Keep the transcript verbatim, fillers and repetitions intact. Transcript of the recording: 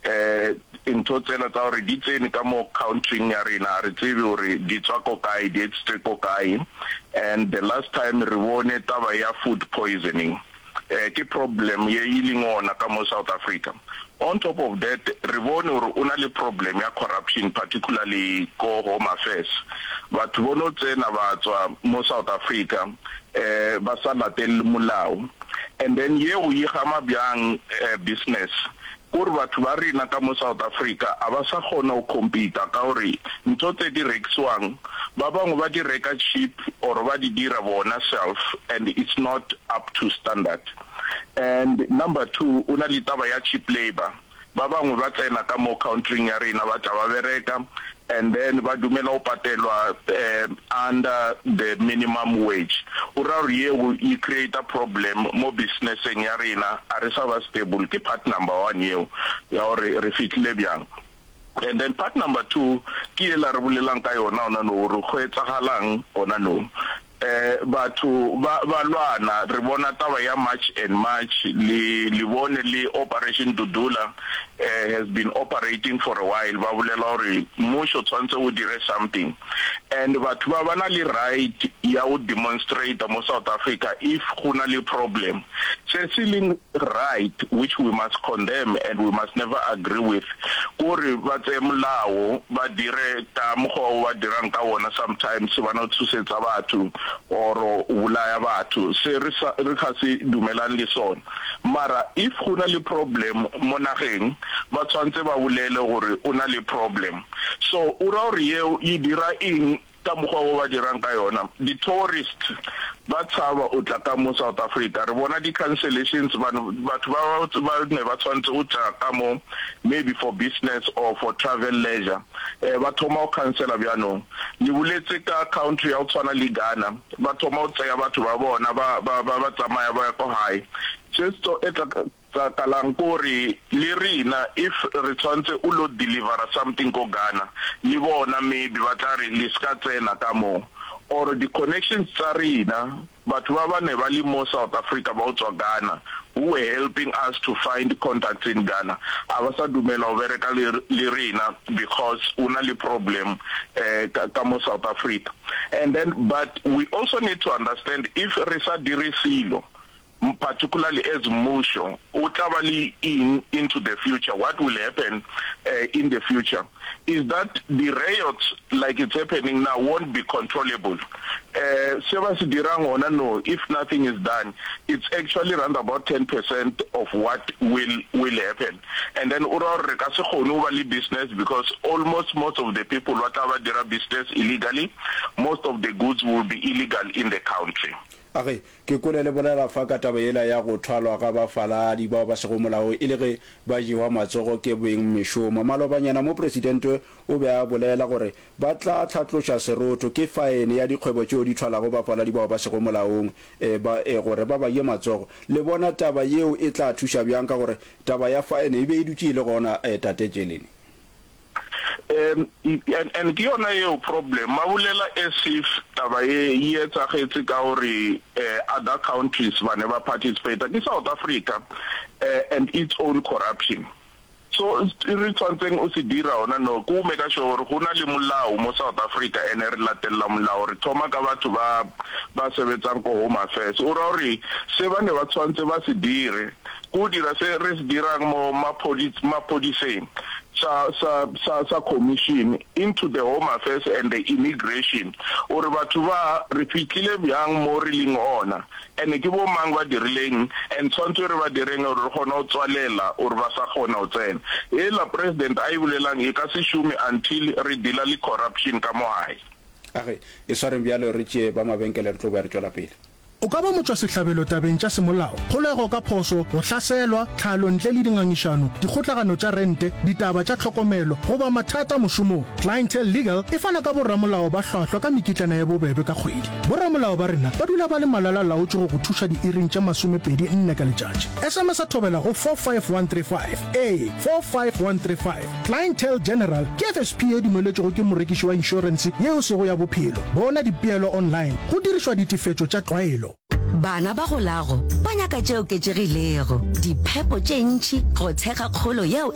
um ntho tsela tsa gore di tsene ka mo countryng ya rena a re tsebe gore di tswa ko kae di etsitse ko kae and the last time re bone taba ya food poisoning eh ke problem ye e leng ona ka mo South Africa on top of that re bone gore o na le problem ya corruption particularly ko home affairs batho bono tsena ba tswa mo South Africa eh ba sa latelle molao and then yeo e gama bjang eh, business kore batho ba rena ka mo South Africa a ba sa kgona go compete ka gore ntho tse di rekisiwang ba bangwe ba di reka cheap or ba di dira bona self and it's not up to standard and number two o na le taba ya cheap labor ba bangwe ba tsena ka mo countryng ya rena ba tla ba bereka and then ba dumela go patelwa um under the minimum wage o ra gore yeo e create a problem mo businesseng ya rena a re sa ba stable ke part number one yeo ya gore re fitlhile bjang and then part number two ke ela re bolelang ka yona ona no gore go etsagalang ona no eh batho ba ba lwana re bona taba ya March and March le le bone le Operation Dudula eh, has been operating for a while ba bolela gore mmušo tshwanetse o dire something and batho ba ba na le right ya go demonstrate mo South Africa if go na le problem se se leng right which we must condemn and we must never agree with kore ba tseye molao ba dire ka mokgwa o ba dirang ka wona sometimes ba no tshosetsa batho or o bolaya batho se re sa re ga se dumelang le sona mara if go na le problem mo nageng ba tshwanetse ba bolele gore o na le problem so o ra gore yeo e dira eng ka mokgwa o ba dirang ka yona di-tourist ba tshaba o tla ka mo South Africa re bona di-cancellations batho ba ba ne ba tshwanetse o tla ka mo maybe for business or for travel leisure eh ba thoma go cancela bjanong le boletse ka country ya go tshwana le Ghana ba thoma go tseya batho ba bona ba ba ba ba tsamaya ba ya ko hae se se e tla tsakalang kore le rena if re tshwanetse o lo delivera something ko Ghana le bona maybe ba tla re le ska tsena ka mo or the connections tsa rena batho ba ba ne ba le mo South Africa ba o tswa Ghana who were helping us to find contacts in Ghana a ba sa dumela go bereka le le rena because o na le problem eh ka, ka mo South Africa and then but we also need to understand if re sa dire selo particularly as mmušo o tla ba le eng into the future what will happen uh, in the future is that the riots like it's happening now won't be controllable uh, se ba se dirang gona no if nothing is done it's actually around about ten percent of what will will happen and then o ra gore re ka se kgone go ba le business because almost most of the people ba tla ba dira business illegally most of the goods will be illegal in the country age ke kole le bolela fa ka taba yela ya go thwalwa ga bafaladi bao ba sego molao e le ge ba jewa matsogo ke beng mešomo malobanyana mo presidente o be a bolela gore ba tla tlhatloša serotho ke faene ya dikgwebo tšeo di thwalago bafaladi bao ba sego molaong e, ba, e, gore ba ba ye matsogo le bona taba yeo e tla thuša bjang ka gore taba ya faene e be e dutše e le gona e, tate Tšelene um and, and ke yona eo problem ba bolela as if taba e e etsagetse ka gore uh, other countries ba ne ba participate ke South Africa uh, and its own corruption so re tshwantseng o se dira ona no ke o make sure gore go na le molao mo South Africa ene re latella molao re thoma ka batho ba ba sebetsang ko home affairs o ra gore se ba ne ba tshwantse ba se dire ko dira se re se dirang mo maphodiseng sa sa sa sa commission into the home affairs and the immigration ore batho ba re fitlhile bjang mo re leng ona and ke bo mang ba dirileng and tshwanetse re ba direng gore re kgone go tswalela ore ba sa kgona go tsena ela president a e bolelang e ka se šome until re deala le corruption ka mo gae age e swareng bjalo re tšee ba mabenkele re tlo ba re tšwela pele o ka ba motšwasehlabelo tabeng tša semolao kgolego ka phošo go hlaselwa tlhalo ntle le dingangišano dikgotlagano tša rente ditaba tša tlhokomelo goba mathata mošomong clientele legal e fana ka boramolao ba hlwahlwa ka mekitlana ya bobebe ka kgwedi boramolao ba rena ba dula ba le malala laotše go go thuša diiring tše masomepedi nne ka letšatši sms a thobela go four five one three five ee four five one three five clientele general ke fsp e dumeletšwego ke morekiši wa inšorense yeo sego ya bophelo bona dipeelo online go dirišwa ditefetšo tša tlwaelo Bana ba golago ba nyaka tše oketšegilego, diphepo tše ntši go thekga kgolo yeo